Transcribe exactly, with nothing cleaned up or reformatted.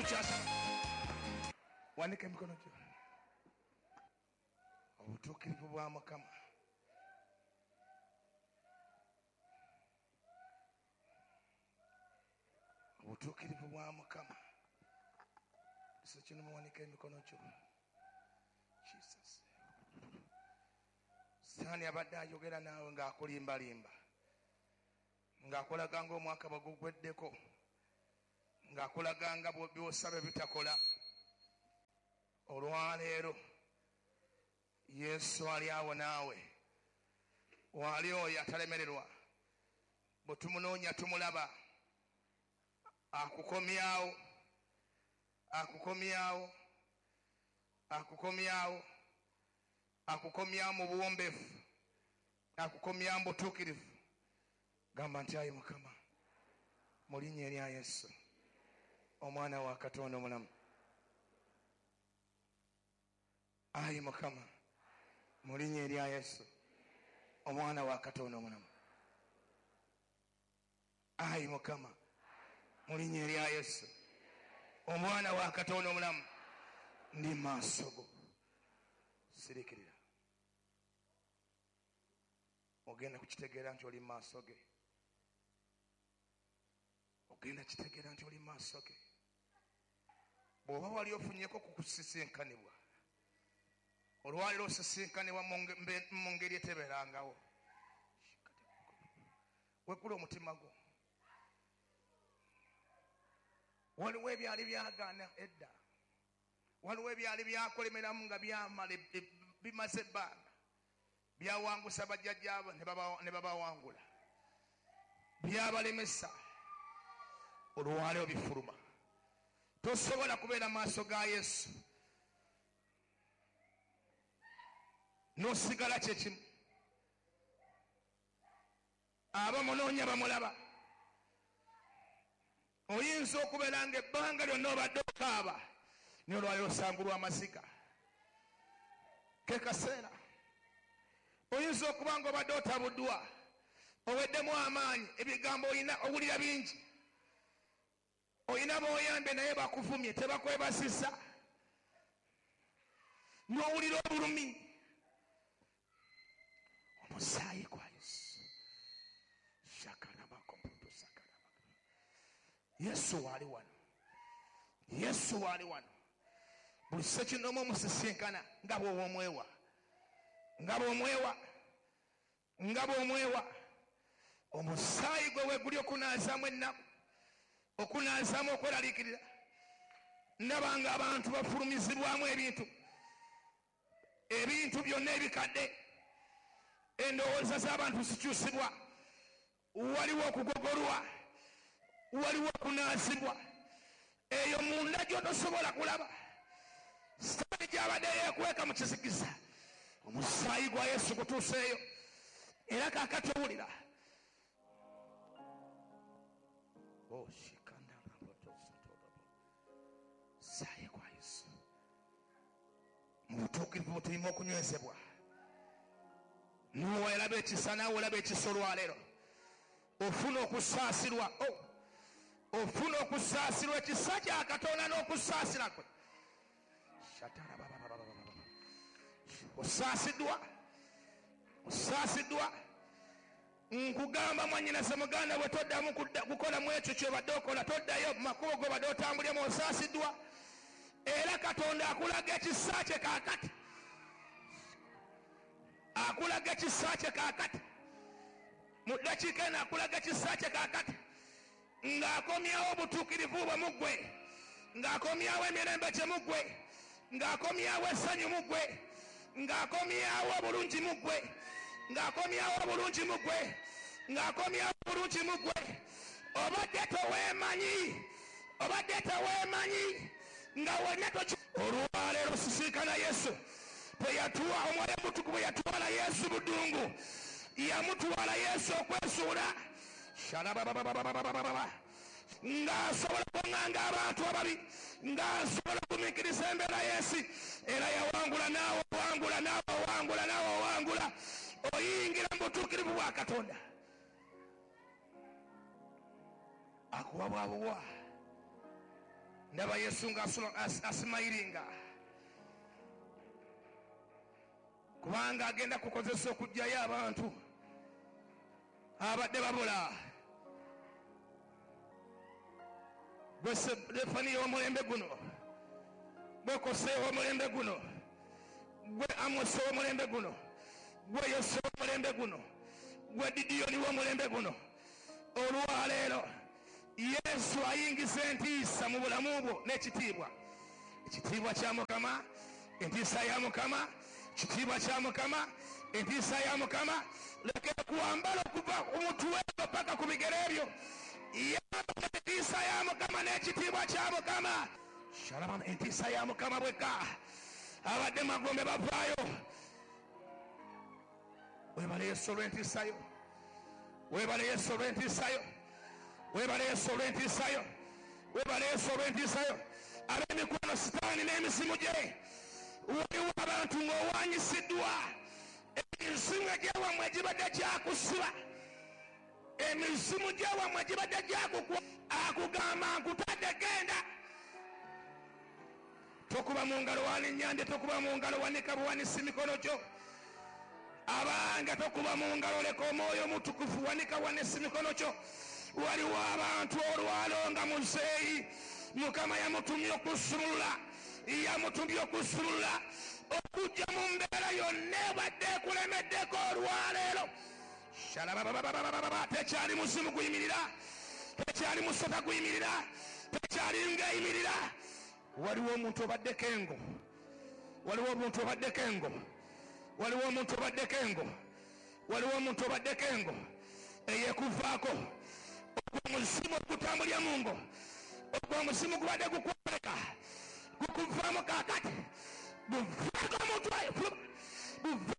Tukyasaba. Wanika emikono gyo. Obutuukirivu bwa Mukama. Obutuukirivu bwa Mukama. Kino muwanika emikono gyo. Jesus. Sitaani abadde ayogera naawe ng'akulimbalimba, ng'akulaga ng'omwaka bwe gugweddeko, ng'akulaga nga by'osaba bitakola. Olwaleero Yesu ali awo naawe, waali oyo atalemererwa. Bwe tumunoonya tumulaba. Akukomyawo, akukomyawo, akukomyawo, akukomyawo mu buwombeefu, akukomyawo mu butuukirivu. Gamba nti ayi Mukama, mu linnya erya Yesu, omwana wa Katonda omulamu. Ayi Mukama, mu linnya erya Yesu, omwana wa Katonda omulamu. Ayi Mukama, mu linnya erya Yesu, omwana wa Katonda omulamu, ndi maaso go. Sirikirira. Ogenda kukitegeera nti oli maaso ge. Ogenda kitegeera nti oli maaso ge. Bw'oba wali ofunyeko ku kusisinkanibwa, olwaliro osisinkanibwa mu ngeri etebeerangawo. Weggula omutima gwo. Waliwo ebyali byagaana edda, waliwo ebyali byakolemeramu nga byamala bimaze ebbanga, byawangusa bajjajjaabo ne babawangula, byabalemesa. Olwaleero bifuluma. Tosobola kubeera maaso ga Yesu n'osigala kyekimu. Abamunoonya bamulaba. Oyinza okubeera ng'ebbanga lyonna obadde okaaba, naye olwaleero osangulwa amaziga. Ke kaseera. Oyinza okuba ng'obadde otabuddwa, oweddemu amaanyi, ebigambo oyina owulira bingi, oyina b'oyambye naye bakuvumye, tebakwebasisa, n'owulira obulumi. Omusaayi gwa Yesu. Yesu waali wano. Yesu waali wano. Buli ssekinnoomu omusisinkana nga bw'omwewa, nga bw'omwewa, nga bw'omwewa. Omusaayi gwe weeguli okunaazaamu ennaku, okunaazaamu okweraliikirira. Ndaba nga abantu bafulumizibwamu ebintu, ebintu byonna ebikadde. Endowooza z'abantu zikyusibwa. Waliwo okugogolwa, waliwo okunaazibwa. Eyo munda gy'otosobola kulaba. Sitaani gy'abadde yeekweka mu kizikiza, omusaayi gwa Yesu gutuuseeyo. Era kaakati owulira. Musaayi gwa Yesu. Mu butuukirivu tulina okunywezebwa. Nuwa yalaba ekisa, naawe olaba ekisa olwaleero. Ofuna okusaasirwa. Ofuna okusaasirwa, ekisa kya Katonda n'okusaasira kwe. Osaasiddwa, osaasiddwa. Nkugamba mwannyinaze muganda bwe toddamu kukolamu ekyo ky'obadde okola, toddayo mu makubo g'obadde otambuliramu. Osaasiddwa. Era Katonda akulaga ekisa kye kaakati, akulaga ekisa kye kaakati. Mu ddakiika eno akulaga ekisa kye kaakati, ng'akomyawo obutuukirivu bwe mu ggwe, ng'akomyawo emirembe gye mu ggwe, ng'akomyawo essanyu mu ggwe, ng'akomyawo obulungi mu ggwe, ng'akomyawo obulungi mu ggwe, ng'akomyawo obulungi mu ggwe. Obadde toweemanyi, obadde toweemanyi, nga wonna toki. Olwaleero osisinkana Yesu. Bwe yatuwa Omwoyo Omutukuvu, bwe yatwala Yesu mu ddungu, yamutwala Yesu okwesuula ng'asobola okuŋŋanga abantu ababi, ng'asobola okugumiikiriza embeera y'ensi. Era yawangula, naawe owangula, naawe owangula, naawe owangula. Oyingira mu butuukirivu bwa Katonda. Akuwa bwa buwa. Ndaba Yesu nga asimayiringa, kubanga agenda kukozesa okuggyayo abantu abadde babula. Gwe Stefaniya w'omulembe guno, gwe Koseya w'omulembe guno, gwe Amosi w'omulembe guno, gwe Yoswa w'omulembe guno, gwe Didiyoni w'omulembe guno. Olwaleero Yesu ayingiza entiisa mu bulamu bwo n'ekitiibwa. Ekitiibwa kya Mukama, entiisa ya Mukama, kitiibwa kya Mukama, entiisa ya Mukama. Leka kuwambala okuva ku mutwe paka ku bigere byo. Yambala entiisa ya Mukama n'ekitiibwa kya Mukama. Shalom, entiisa ya Mukama bwekka. Abadde magombe bavaayo. Webale Yesu olw'entiisa yo. Webale Yesu olw'entiisa yo. Webale Yesu olw'entiisa yo. Webale Yesu olw'entiisa yo. Ab'emikwano Sitaani n'emisimu gye, waliwo abantu ng'owanyisiddwa emizimu egyawammwe egibadde gyakusiba, emizimu gyawammwe egibadde gyakukwa, akugamba nkutadde genda. Tokuba mu ngalo walinnyambye, tokuba mu ngalo, wanika buwanisi mikono gyo. Abange tokuba mu ngalo, leka omwoyo omutukuvu, wanika wanisi mikono gyo. Waliwo abantu olwalo nga muzeeyi Mukama yamutumye okusumulula, yamutumye okusumulula okujja mu mbeera yonna ebadde ekulemeddeko olwaleero. Shalababababababa, tekyali muzimu guyimirira, tekyali musota guyimirira, tekyali ngaeyimirira. Waliwo omuntu obaddeko engo, waliwo omuntu obaddeko engo, waliwo omuntu obaddeko engo, waliwo omuntu obaddeko engo eyekuvaako. Ogwo omuzimu ogutambulira mu ngo, ogwo omuzimu gubadde gukwoleka, gukuvaamu kaakati, guvaako omutwe, buvaako